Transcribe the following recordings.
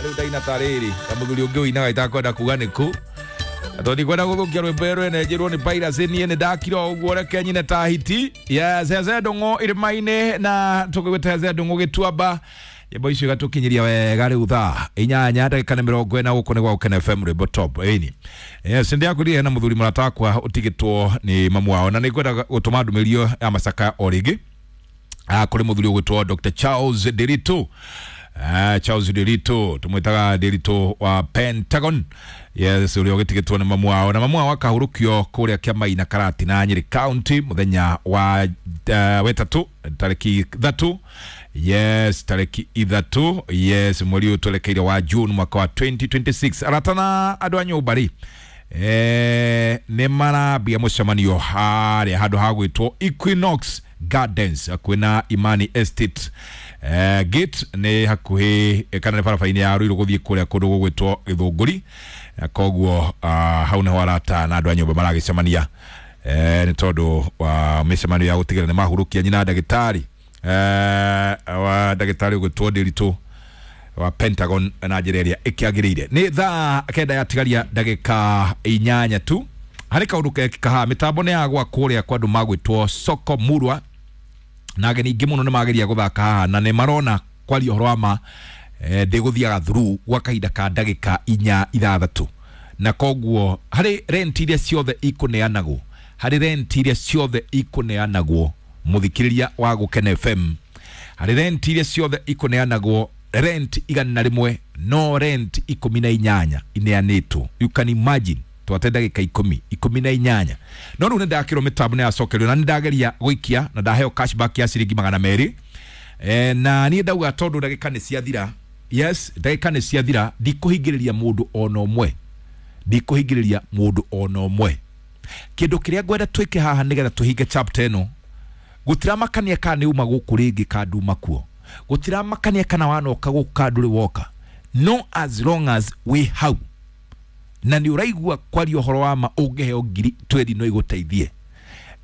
Rĩu ndaina ta rĩrĩ ta mũthuri ũngĩ ũinaga itakwenda kuga nĩkũ, na tondũ ndikwenda gũthũkia rwĩmbo rwene njĩrwo nĩ piracy, niĩ nĩ ndakira o ũguo, reke nyine ta hiti. Yes, Heze Ndũng'ũ irĩma-inĩ na tũgĩgwĩta Heze Ndũng'ũ gĩtuamba, nyĩmbo icio igatũkinyĩria wega. Rĩu thaa 8 ndagĩka nĩ 40, gũkũ nĩ gwa Gũkena FM, rwĩmbo top ĩni. Yes, ndĩakwĩrire hena mũthuri mũrata wakwa ũtigĩtwo nĩ mamu wao, na nĩ ngwenda gũtũma ndũmĩrĩri ya macaka o rĩngĩ kũrĩ mũthuri ũgwĩtwo Dr. Charles Ndiritu. Charles Ndiritu tumwitaga Ndiritu wa Pentagon. Yes, ũrĩa ũgĩtigĩtwo nĩ mamu wao, na mamu wao akahurũkio kũrĩa Kĩamaina Karatina, Nyĩrĩ County, mũthenya wa wetatũ tarĩki 3. Yes, tarĩki 3, yes, mweri ũyũ twerekeire wa June mwaka wa 2026. Arata na andũ a nyũmba rĩ, nĩ marambia mũcemanio harĩa handũ ha gwĩtwo Equinox Gardens hakuhĩ na Imani Estate, gate nĩ hakuhĩ kana nĩ barabara-inĩ ya Ruiru gũthiĩ kũrĩa kũndũ gũgwĩtwo Gĩthũngũri. Koguo hau nĩho arata na andũ a nyũmba maragĩcemania, nĩ tondũ wa mĩcemanio ya gũtigĩrĩra nĩ mahurũkia nyina ndagĩtarĩ, wa ndagĩtarĩ ũgwĩtwo Ndiritu wa Pentagon na njĩra ĩrĩa ĩkĩagĩrĩire. Nĩ thaa 9 yatigaria ndagĩka 8 tu. Harĩ kaũndũ gekĩka haha, mĩtambo nĩ yagwa kũrĩa kwa andũ magwĩtwo Soko Murwa, na ageni aingĩ mũno nĩ mageria gũthaka haha na nĩ marona kwaria ũhoro wa ma, ndĩgũthiaga through gwa kahinda ka ndagĩka 4 6, na koguo harĩ rent iria ciothe ikũneanagwo, harĩ rent iria ciothe ikũneanagwo, mũthikĩrĩria wa Gũkena FM, harĩ rent iria ciothe ikũneanagwo, rent 100, no rent 18 ineanĩtwo. You can imagine, twate ndagĩka 10, 18. No rĩu nĩ ndakĩrwo mĩtambo nĩ yacokerio, na nĩ ndageria gũikia na ndaheo cashback ya ciringi 200. Na niĩ ndauga tondũ ndagĩka nĩ ciathira, yes, ndagĩka nĩ ciathira, ndikũhingĩrĩria mũndũ ona ũmwe, ndikũhingĩrĩria mũndũ ona ũmwe. Kĩndũ kĩrĩa ngwenda twĩke haha nĩgetha tũhinge chapter ĩno, gũtiramakania kana nĩ uma gũkũ rĩngĩ kana nduma kuo, gũtiramakania kana wanoka gũkũ kana ndũrĩ woka, no as long as wĩ hau na nĩ ũraigua kwaria ũhoro wa ma, ũngĩheo ngiri twendi no igũteithie.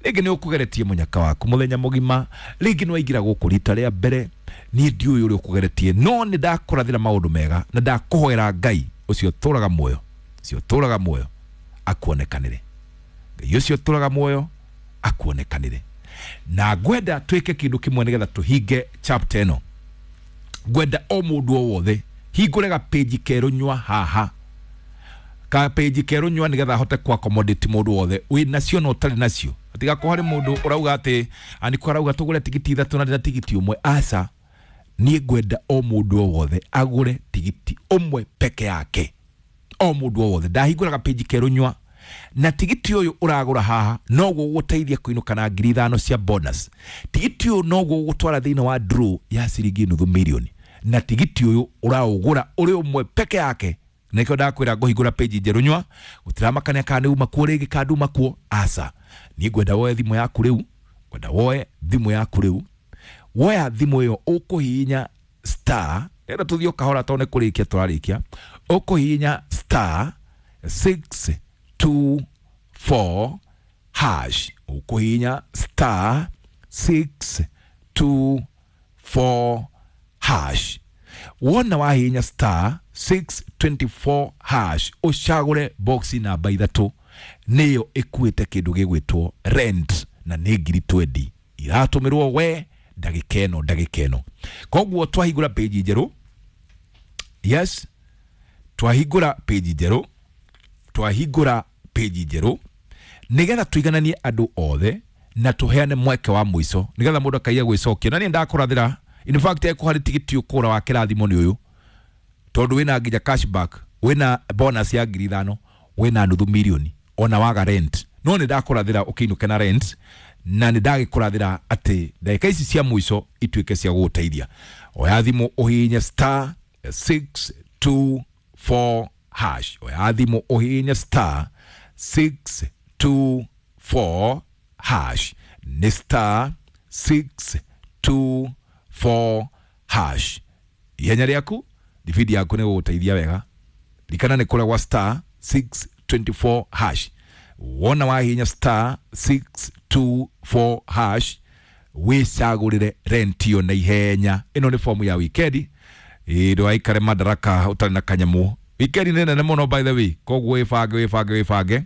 Rĩngĩ nĩ ũkũgeretie mũnyaka waku mũthenya mũgima, rĩngĩ nĩ waingĩra gũkũ rita rĩa mbere, niĩ ndiũĩ ũrĩa ũkũgeretie, no nĩ ndakũrathĩra maũndũ mega na ndakũhoera Ngai ũcio ũtũraga muoyo, ũcio ũtũraga muoyo akuonekanĩre, Ngai ũcio ũtũraga muoyo akuonekanĩre. Na ngwenda twĩke kĩndũ kĩmwe nĩgetha tũhinge chapter ĩno. Ngwenda o mũndũ o wothe hingũre gapĩnji kerũ nyua haha, kapĩnji kerũ nyua, nĩgetha ahote ku accommodate mũndũ wothe wĩ nacio na ũtarĩ nacio. Tigakorwo harĩ mũndũ ũrauga atĩ aniko arauga tũgũre tigiti 3 na ndĩna tigiti ũmwe. Aca, niĩ ngwenda o mũndũ o wothe agũre tigiti ũmwe peke yake, o mũndũ o wothe. Ndahingũra gapĩnji kerũ nyua, na tigiti ũyũ ũragũra haha noguo ũgũteithia kũinũka na 5,000 cia bonus. Tigiti ũyũ noguo ũgũtwara thĩinĩ wa draw ya ciringi nuthu mirioni, na tigiti ũyũ ũraũgũra ũrĩ ũmwe peke yake. Nĩkĩo ndakwĩra ngũhingũra page njerũ nyua, gũtiramakania kana nĩ uma kuo rĩngĩ kana nduma kuo. Aca, niĩ ngwenda woe thimũ yaku rĩu, ngwenda woe thimũ yaku rĩu. Woya thimũ ĩyo, ũkũhihinya star, rĩenda tũthiĩ o kahora tondũ nĩ kũrĩkia tũrarĩkia, ũkũhihinya star 624 hash, ũkũhihinya star 624 hash. Wona wahihinya star 624 hash, ũcagũre box namba 3, nĩyo ĩkuĩte kĩndũ gĩgwĩtwo rent, na nĩ ngiri twendi iratũmĩrwo we ndagĩka ĩno, ndagĩka ĩno. Koguo twahingũra page njerũ, yes, twahingũra page njerũ, twahingũra page njerũ nĩgetha tũigananie andũ othe na tũheane mweke wa mũico nĩgetha mũndũ akaiya gwĩcokia. Na niĩ ndakũrathĩra, in fact, eko harĩ tigiti ũkũgũra wa kĩrathimo nĩ ũyũ, tondũ wĩna nginya cashback, wĩna bonus ya 5,000, wĩna nuthu milioni ona waga rent. No nĩ ndakũrathĩra ũkĩinũke na rent, na nĩ ndagĩkũrathĩra atĩ ndagĩka ici cia mũico ituĩke cia gũgũteithia. Oya thimũ ũhihinye star 624 hash, oya thimũ ũhihinye star 624 hash, nĩ star 624 hash. Ihenya rĩaku, thibindi yaku nĩ gũgũteithia wega. Rikana nĩ kũrĩa gwa star 624 hash. Wona wahihinya star 624 hash, wĩcagũrĩre rent ĩyo na ihenya. Ĩno nĩ fomu ya wikendi. Ndũgaikare madaraka ũtarĩ na kanyamũ. Wikendi nĩ nene mũno by the way, koguo wĩbange wĩbange wĩbange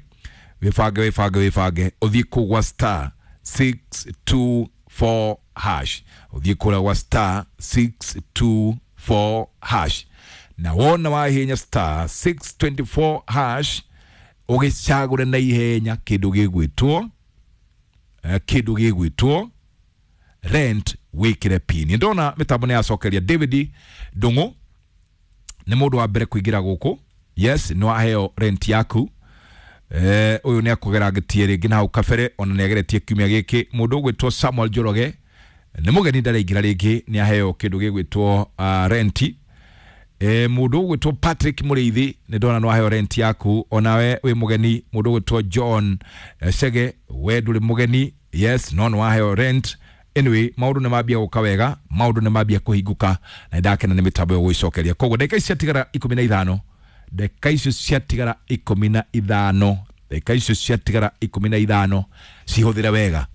wĩbange wĩbange wĩbange, ũthiĩ kũu gwa star 624 hash, ũthiĩ kũrĩa gwa star 624 hash, na wona wahihinya star 624 hash ũgĩcagũre na ihenya kĩndũ gĩgwĩtwo kĩndũ gĩgwĩtwo rent, wĩkĩre pin. Ndona mĩtambo nĩ yacokeria David Ndung'u nĩ mũndũ wa mbere kũingĩra gũkũ. Yes, nĩ waheo rent yaku. Ũyũ nĩ akũgera ngĩtie rĩngĩ na hau kabere, ona nĩ ageretie kiumia gĩkĩ. Mũndũ ũgwĩtwo Samuel Njoroge nĩ mũgeni ndaraingĩra rĩngĩ, nĩ aheo kĩndũ gĩgwĩtwo renti. Mũndũ ũgwĩtwo Patrick Mũrĩithi nĩ ndona nĩ waheo rent yaku, onawe wĩ mũgeni. Mũndũ ũgwĩtwo John Chege, we ndũrĩ mũgeni, yes, no nĩ waheo rent. Anyway, maũndũ nĩ mambia gũka wega, maũndũ nĩ mambia kũhingũka, na nĩ ndakena nĩ mĩtambo ĩyo gwĩcokeria. Koguo ndagĩka ici ciatigara 15, ndagĩka icio ciatigara 15, ndagĩka icio ciatigara 15, cihũthĩre wega,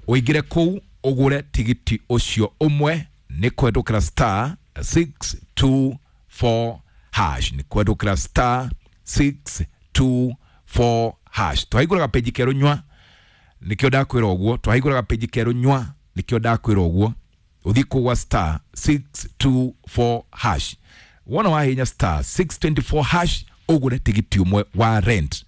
ũingĩre kũu ũgũre tigiti ũcio ũmwe nĩ kũhetũkĩra star 624 hash, nĩ kũhetũkĩra star 624 hash. Twahingũraga peji kerũ nywa, nĩkĩo ndakwĩra ũguo, twahingũraga peji kerũ nywa, nĩkĩo ndakwĩra ũguo, ũthiĩ kũu gwa star 624 hash, wona wahinya star 624 hash ũgũre tigiti ũmwe wa rent.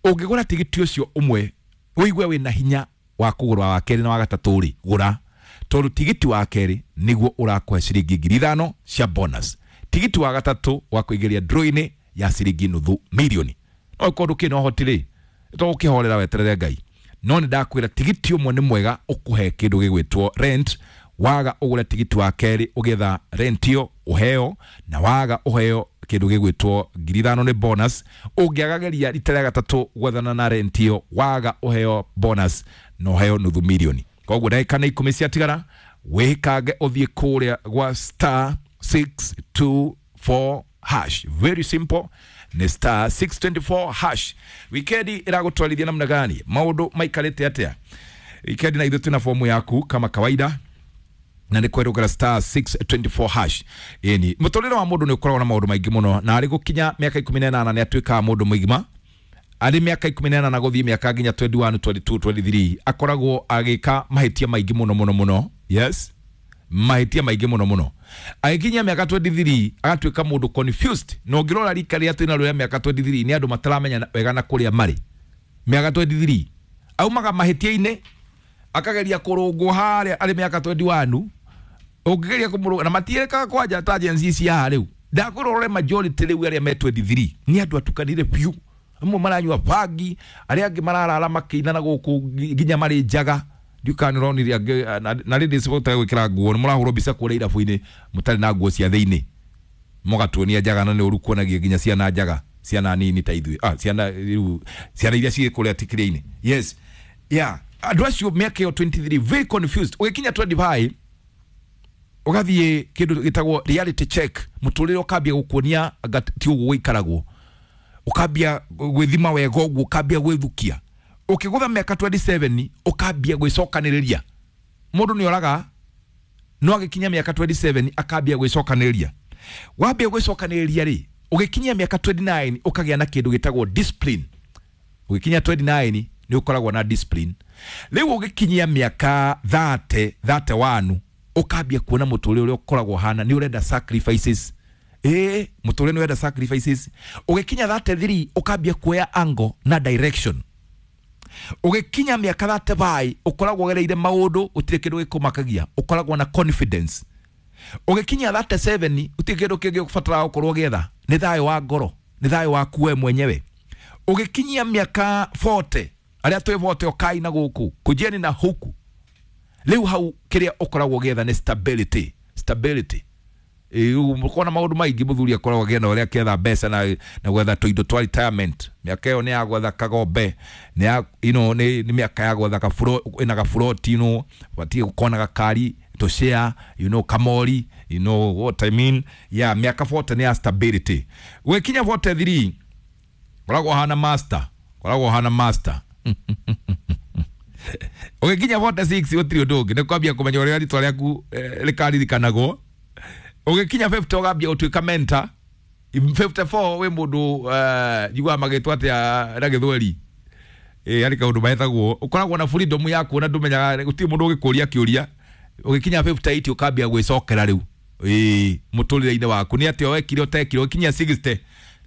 Ũngĩgũra tigiti ũcio ũmwe ũigue wĩna hinya wa kũgũra wa kerĩ na wa gatatũ rĩ, gũra, tondũ tigiti wa kerĩ nĩguo ũrakũhe ciringi 5,000 cia bonus, tigiti wa gatatũ wa kũingĩria draw-inĩ ya ciringi nuthu mirioni. No ĩkorwo ndũkĩrĩ na ũhoti rĩ, tũgũkĩhorera weterere Ngai, no nĩ ndakwĩra tigiti ũmwe nĩ mwega ũkũhe kĩndũ gĩgwĩtwo rent. Waga ũgũre tigiti wa kerĩ ũgĩetha rent ĩyo ũheo, na waga ũheo kĩndũ gĩgwĩtwo 5,000 nĩ bonus. Ũngĩagageria rita rĩa gatatũ gwethana na rent ĩyo, waga ũheo bonus na ũheo nuthu mirioni. Koguo ndagĩka nĩ 10 ciatigara, wĩkange ũthiĩ kũrĩa gwa star 624 hash. Very simple, nĩ star 624 hash. Wikendi ĩragũtwarithia namna gani? Maũndũ maikarĩte atĩa wikendi? Na ithuĩ twĩna fomu yaku kama kawaida, na nĩ kwerũkĩra star 624 hash. Ĩni mũtũrĩre wa mũndũ nĩ ũkoragwo na maũndũ maingĩ mũno, na arĩ gũkinya mĩaka 18 nĩ atuĩkaga mũndũ mũgima. Arĩ mĩaka 18 gũthiĩ mĩaka nginya 21 22 23 akoragwo agĩka mahĩtia maingĩ mũno mũno mũno. Yes, mahĩtia maingĩ mũno mũno. Agĩkinyia mĩaka 23 agatuĩka mũndũ confused, na ũngĩrora rika rĩrĩa twĩna rĩo mĩaka 23 nĩ andũ mataramenya wega na kũrĩa marĩ. Mĩaka 23 aumaga mahĩtia-inĩ akageria kũrũngwo harĩa arĩ mĩaka 21, ũngĩgeria kũmũrũnga na matiĩkaga kwanja ta Gen Z cia haha rĩu. Ndakwĩra ũrore majority rĩu arĩa me 23 nĩ andũ atukanire biũ, amwe maranyua bangi, arĩa angĩ mararara makĩina na gũkũ nginya marĩ njaga. Ndiũ kana nĩ ũronire angĩ na rĩndĩ cibũtaga gwĩkĩra nguo, nĩ mũrahũrwo mbica kũrĩa irabu-inĩ mũtarĩ na nguo cia thĩinĩ, mũgatuonia njaga, na nĩ ũru kuonagia nginya ciana njaga, ciana nini ta ithuĩ, ciana rĩu, ciana iria ciĩ kũrĩa tikirĩ-inĩ. Yes, yeah, andũ acio mĩaka ĩyo 23 very confused. Ũgĩkinya 25 ũgathiĩ kĩndũ gĩtagwo reality check, mũtũrĩre ũkambia gũkuonia anga ti ũguo gũikaragwo, ũkambia gwĩthima wega ũguo, ũkambia gwĩthukia. Ũkĩgũtha mĩaka 27 ũkambia gwĩcokanĩrĩria. Mũndũ nĩ oraga no agĩkinya mĩaka 27 akambia gwĩcokanĩrĩria. Wambia gwĩcokanĩrĩria rĩ, ũgĩkinyia mĩaka 29 ũkagĩa na kĩndũ gĩtagwo discipline. Ũgĩkinya 29 nĩ ũkoragwo na discipline. Rĩu ũgĩkinyia mĩaka 30 31 ũkambia kuona mũtũrĩre ũrĩa ũkoragwo hana, nĩ ũrenda sacrifices. Mũtũrĩre nĩ ũrenda sacrifices. Ũgĩkinya 33 ũkambia kuoya angle na direction. Ũgĩkinya mĩaka 35 ũkoragwo ũgereire maũndũ, gũtirĩ kĩndũ gĩkũmakagia, ũkoragwo na confidence. Ũgĩkinya 37 gũtirĩ kĩndũ kĩngĩ ũbataraga gũkorwo ũgĩetha, nĩ thayũ wa ngoro, nĩ thayũ waku we mwenyewe. Ũgĩkinyia mĩaka 40, arĩa twĩ 40 ũkai na gũkũ kũnjiani na huku, rĩu hau kĩrĩa ũkoragwo ũgĩetha nĩ stability. Stability. Ũkona maũndũ maingĩ mũthuri akoragwo agĩetha ũrĩa akĩetha mbeca na gwetha tũindo twa retirement. Mĩaka ĩyo nĩ ya gwetha kagombe, nĩ ya, you know, nĩ mĩaka ya gwetha gaburo, ĩna gaburoti, you know, batiĩ gũkorwo na gakari to share, you know, kamori, you know what I mean. Yeah, mĩaka 40 nĩ ya stability. Ũgĩkinya 43 koragwo hana master, koragwo hana master. Ũgĩkinya 46 gũtirĩ ũndũ ũngĩ, nĩ kwambia kũmenya ũrĩa rĩtwa rĩaku rĩkaririkanagwo. Ũgĩkinya 50 ũgambia gũtuĩka mentor. 54 wĩ mũndũ njiguaga magĩtwo atĩa na gĩthweri, harĩ kaũndũ metagwo, ũkoragwo na freedom yaku na ndũmenyaga gũtirĩ mũndũ ũgĩkũria kĩũria. Ũgĩkinya 58 ũkambia gwĩcokera rĩu mũtũrĩre-inĩ waku nĩ atĩa wekire ũtekire. Ũgĩkinya 60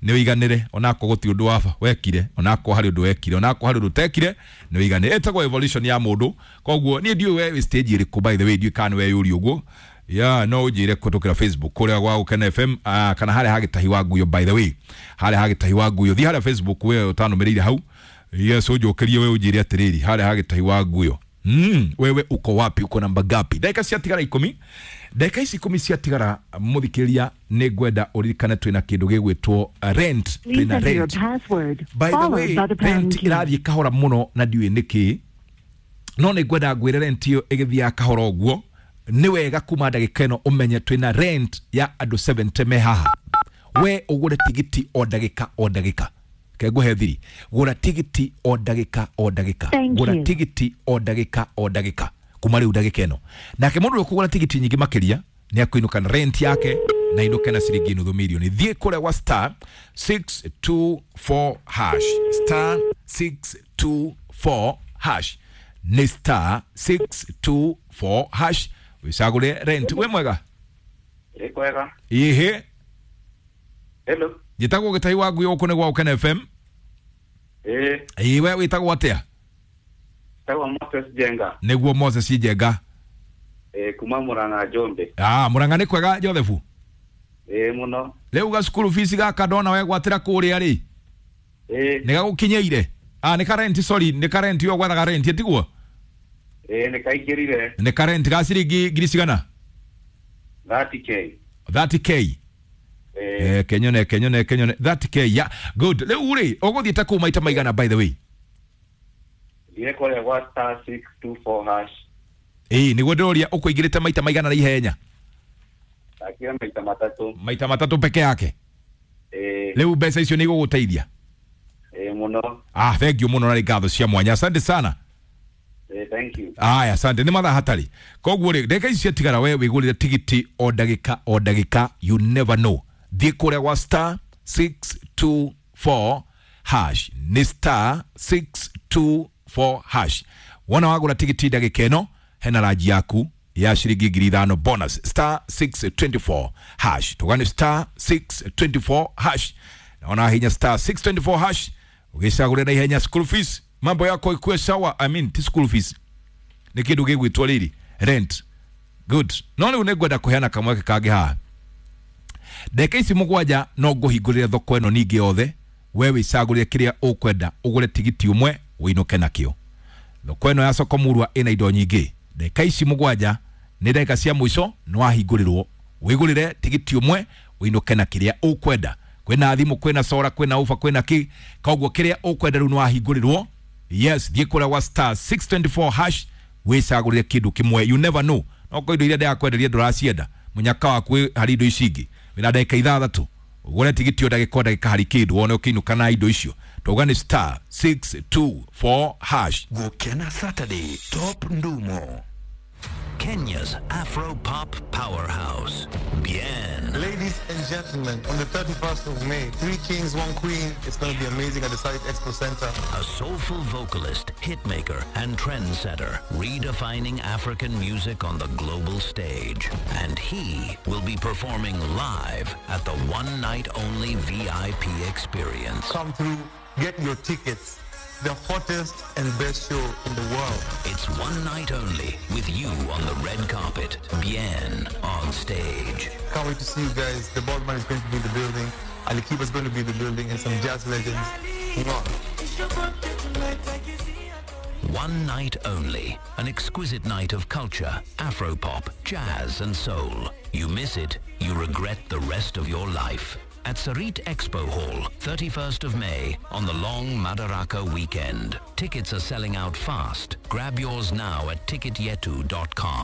nĩ ũiganĩre, onako gũtirĩ ũndũ waba wekire, onako harĩ ũndũ wekire, onako harĩ ũndũ ũtekire, nĩ ũiganĩre. Ĩtagwo evolution ya mũndũ. Koguo niĩ ndiũĩ we wĩ stage ĩrĩkũ, by the way, ndiũĩ kana nĩ weyũria ũguo ya no ũnjĩre kũhetũkĩra Facebook kũrĩa gwa Gũkena FM, kana harĩa hagĩtahi wa nguyo. By the way, harĩa hagĩtahi wa nguyo, thiĩ harĩa Facebook we ũtanũmĩrĩire hau. Yes, ũnjũkĩrie we ũnjĩre atĩrĩrĩ, harĩa hagĩtahi wa nguyo, wewe uko wapi, uko namba gapi? Ndagĩka ciatigara 10, ndagĩka ici 10 ciatigara, mũthikĩrĩria, nĩ ngwenda ũririkane twĩna kĩndũ gĩgwĩtwo rent. Please Twĩna enter your rent. password, By the followed way, by the pound rent key. ĩrathiĩ kahora mũno na ndiũĩ nĩkĩ, no nĩ ngwenda ngwĩre rent ĩyo ĩgĩthiaga kahora ũguo nĩ wega kuma ndagĩka ĩno ũmenye twĩna rent ya andũ 70 me haha. We ũgũre tigiti o ndagĩka o ndagĩka. Ke ngũhe thiri, gũra tigiti o ndagĩka o ndagĩka. Thank Gũra you. tigiti o ndagĩka o ndagĩka kuma rĩu ndagĩka ĩno. Nake mũndũ ũrĩa ũkũgũra tigiti nyingĩ makĩria nĩ akũinũka na rent yake na inũke na ciringi nuthu mirioni. Thiĩ kũrĩa gwa star 624 hash, star 624 hash, nĩ star 624 hash, wĩcagũre rent. Wĩ mwega? Ĩ kwega. Ĩhĩ. Hello. Njĩtagwo Gĩtahi wa Nguyo, gũkũ nĩ gwa Gũkena FM. Ĩ. Ĩĩ, we wĩtagwo atĩa? Tagwa Moses Jenga. Nĩguo, Moses Njenga. Ĩ, kuma Murang'a Njombe. Ah, Mũrang'a nĩ kwega, Joseph? Ĩ mũno. Rĩu gacukuru fees gaka ndona wegwatĩra kũrĩa rĩ, Ĩ. nĩ gagũkinyĩire? Ah, nĩ karenti, sorry, nĩ karenti yo gwethaga renti, tiguo? Ĩ, nĩ kaingĩrire. Nĩ karenti ga ciringi ngiri cigana? 30K. 30K? Ĩ. Kenyone kenyone kenyone, 30K ya good. Rĩu rĩ, ũgũthiĩte kũu maita maigana, by the way? Thiĩ kũrĩa gwa star 624 hash. Ĩĩ, nĩguo ndĩroria, ũkũingĩrĩte maita maigana na ihenya? Ndakĩra maita matatũ. Maita matatũ peke yake? Ĩ. Rĩu mbeca icio nĩ igũgũteithia? Ĩ mũno. Ah, thank you mũno na nĩ ngatho cia mwanya, asante sana. Ĩ, thank you. Aya, asante. Nĩ mathaa hatarĩ, koguo rĩ, ndagĩka ici ciatigara we wĩgũrĩre tigiti o ndagĩka o ndagĩka. You never know. Thiĩ kũrĩa gwa star 624 hash, nĩ star 624 hash. Wona wagũra tigiti ndagĩka ĩno, hena ranji yaku ya ciringi 5,000 bonus. Star 624 hash, tũgane star 624 hash. Naona hinya star 624 hash ũgĩcagũrĩra na ihenya school fees, mambo yako ikuwe sawa. I mean, ti school fees, nĩ kĩndũ gĩgwĩtwo rĩrĩ rent. Good. No rĩu nĩ ngwenda kũheana kamweke kangĩ haha. Ndagĩka ici 7 no ngũhingũrĩre thoko ĩno ningĩ yothe, we wĩcagũrĩre kĩrĩa ũkwenda, ũgũre tigiti ũmwe ũinũke nakĩo. Thoko ĩno ya soko murwa ĩna indo nyingĩ. Ndagĩka ici 7 nĩ ndagĩka cia mũico, nĩ wahingũrĩrwo wĩgũrĩre tigiti ũmwe ũinũke na kĩrĩa ũkwenda. Kwĩna thimũ, kwĩna sora, kwĩna ufa, kwĩna kĩ, koguo kĩrĩa ũkwenda rĩu nĩ wahingũrĩrwo. Yes, thiĩ kũrĩa gwa star 624 hash wĩcagũrĩre kĩndũ kĩmwe. You never know, no kwa indo iria ndĩrakwenderia ndũracienda, mũnyaka waku wĩ harĩ indo ici ingĩ. Wĩna ndagĩka 6 ũgũre tigiti o ndagĩka o ndagĩka, harĩ kĩndũ wone ũkĩinũka na indo icio. Tauga nĩ star 624 hash. Gukena Saturday Top Ndumo. Kenya's Afro Pop Powerhouse. Bien. Ladies and gentlemen, on the 31st of May, Three Kings, One Queen. It's going to be amazing at the Site Expo Center. A soulful vocalist, hitmaker, and trendsetter, redefining African music on the global stage. And he will be performing live at the one night only VIP experience. Come through, get your tickets. The hottest and best show in the world. It's one night only with you on the red carpet, Bien on stage. Can't wait to see you guys. The Baldman is going to be in the building. Ali Kiba is going to be in the building and some jazz legends. Mwah. One night only. An exquisite night of culture, Afropop, jazz and soul. You miss it, you regret the rest of your life. At Sarit Expo Hall, 31st of May, on the long Madaraka weekend. Tickets are selling out fast. Grab yours now at ticketyetu.com.